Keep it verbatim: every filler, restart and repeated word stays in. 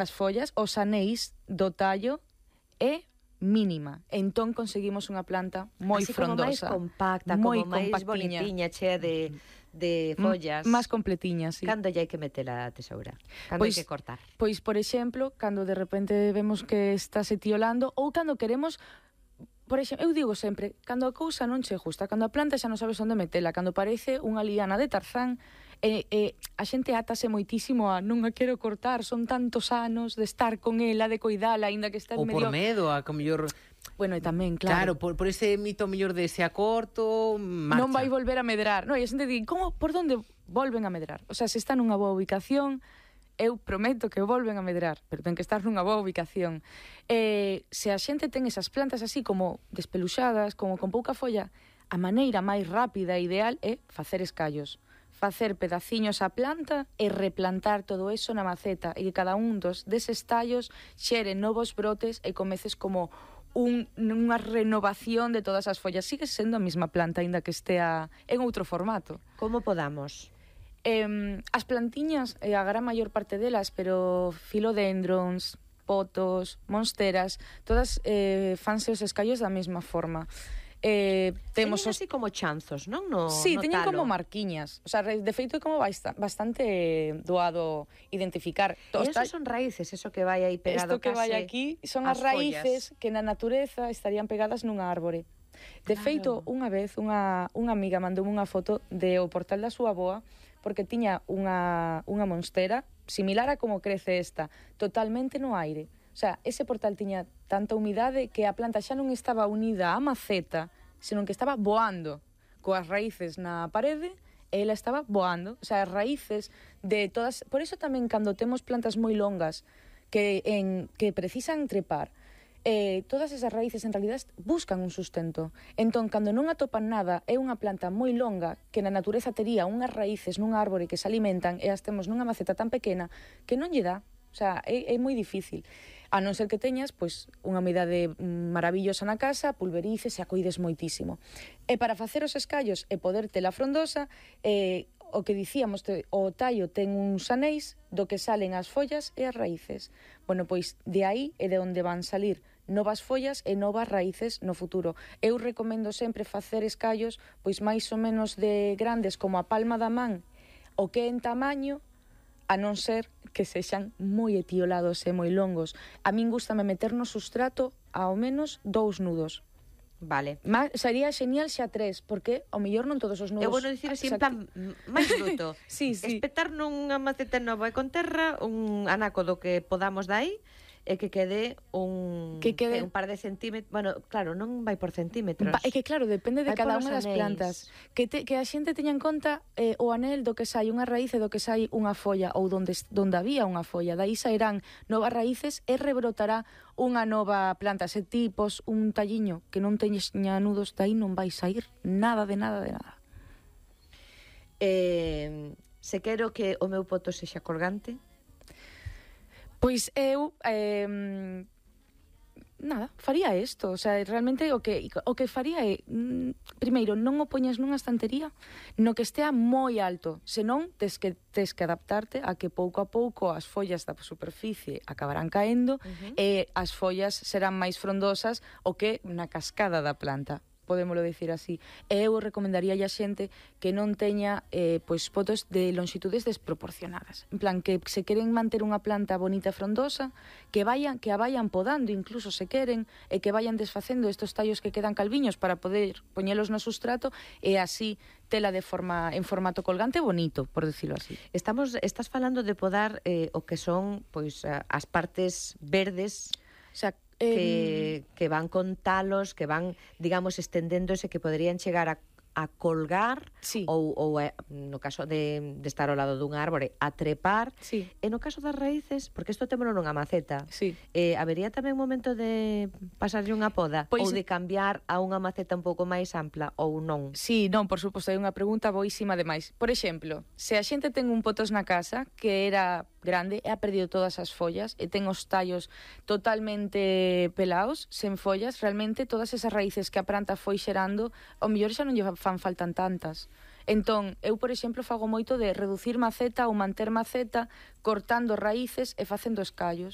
as follas, os anéis do tallo é mínima. Entón conseguimos unha planta moi así como máis frondosa, compacta, moi como máis compactiña, bonitiña, chea de, de follas. máis completiña, sí. Cando lle hai que meter a tesoura? Cando Pois, hai que cortar? Pois, por exemplo, cando de repente vemos que está se tiolando, ou cando queremos... Por exemplo, eu digo sempre, cando a cousa non che gusta, cando a planta xa non sabes onde metela, cando parece unha liana de Tarzán, e, e a xente átase moitísimo a non a quero cortar, son tantos anos de estar con ela, de coidala, aínda que está Ou medio... por medo, a que mellor... Bueno, e tamén, claro. Claro, por, por ese mito mellor de se a corto, marcha. Non vai volver a medrar. No, e a xente di, como, por onde volven a medrar? O sea, se está nunha boa ubicación, eu prometo que volven a medrar, pero ten que estar nunha boa ubicación. Eh, se a xente ten esas plantas así como despeluxadas, como con pouca folla, a maneira máis rápida e ideal é facer escallos. Facer pedaciños á planta e replantar todo eso na maceta e que cada un dos deses tallos xere novos brotes e comeces como un, unha renovación de todas as follas. Sigue sendo a mesma planta, aínda que estea en outro formato. Como podamos? Eh, as plantiñas, eh, a gran maior parte delas, pero philodendrons, potos, monsteras, todas eh, fanse os escallos da mesma forma. Eh, temos teñen os... así como chanzos, non? No, sí, no teñen talo. como marquiñas. O sea, de feito é como bastante doado identificar. E esos son raíces, eso que vai aí pegado Isto que vai case aquí son as, as raíces que na natureza estarían pegadas nunha árbore. De claro. feito, unha vez unha, unha amiga mandoume unha foto de o portal da súa avoa porque tiña unha, unha monstera similar a como crece esta, totalmente no aire. O sea, ese portal tiña tanta humidade que a planta xa non estaba unida á maceta, senón que estaba voando coas raíces na parede e ela estaba voando. O sea, as raíces de todas... Por iso tamén cando temos plantas moi longas que, en, que precisan trepar, eh, todas esas raíces en realidad buscan un sustento. Entón, cando non atopan nada, é unha planta moi longa que na natureza tería unhas raíces nun árbore que se alimentan e as temos nunha maceta tan pequena que non lle dá. O sea, é, é moi difícil. A non ser que teñas, pois, unha humidade maravillosa na casa, pulverices e a coides moitísimo. E para facer os escallos e poder tela frondosa, eh, o que dicíamos, te, o tallo ten uns anéis do que salen as follas e as raíces. Bueno, pois, de aí é de onde van salir novas follas e novas raíces no futuro. Eu recomendo sempre facer escallos, pois, máis ou menos de grandes como a palma da man, o que en tamaño, a non ser que sexan moi etiolados e moi longos. A min gústame meter no sustrato ao menos dous nudos. Vale. Ma, sería genial xa tres, porque ao mellor non todos os nudos... Eu vou dicir así en plan máis bruto. Sí, sí. Espetar nunha maceta nova e con terra un anaco do que podamos dai e que quede un que quede un par de centímetros, bueno, claro, non vai por centímetros. Va, é que claro, depende de vai cada unha das anéis. plantas. Que, te, que a xente teña en conta eh, o anel do que sai unha raíz e do que sai unha folla, ou donde, donde había unha folla. Daí sairán novas raíces e rebrotará unha nova planta. Se tipos un talliño que non teñes nudos, dai non vai sair nada de nada de nada. Eh, se quero que o meu poto sexa colgante, pois eu eh, nada, faría isto, o sea, realmente o que o que faría é mm, primeiro, non o poñas nunha estantería no que estea moi alto, senón tes que tes que adaptarte a que pouco a pouco as follas da superficie acabarán caendo uh-huh. e as follas serán máis frondosas o que na cascada da planta. Podémolo dicir así. E eu recomendaría a xente que non teña eh, pois potos de longitudes desproporcionadas. En plan, que se queren manter unha planta bonita e frondosa, que vayan, que a vayan podando, incluso se queren, e que vayan desfacendo estos tallos que quedan calviños para poder poñelos no sustrato e así tela de forma en formato colgante bonito, por decirlo así. Estamos estás falando de podar eh, o que son pois as partes verdes, o sea, que, que van con talos, que van, digamos, estendéndose, que poderían chegar a, a colgar, sí. ou, ou no caso de, de estar ao lado dun árbore, a trepar. Sí. E no caso das raíces, porque isto témolo nunha maceta, sí. eh, habería tamén un momento de pasarlle unha poda, pois, ou de cambiar a unha maceta un pouco máis ampla, ou non? Sí, non, por suposto, é unha pregunta boísima demais. Por exemplo, se a xente ten un potos na casa que era grande e ha perdido todas as follas e ten os tallos totalmente pelaos, sen follas, realmente todas esas raíces que a planta foi xerando, ao mellor xa non lle fan faltan tantas. Entón, eu, por exemplo, fago moito de reducir maceta ou manter maceta, cortando raíces e facendo escallos.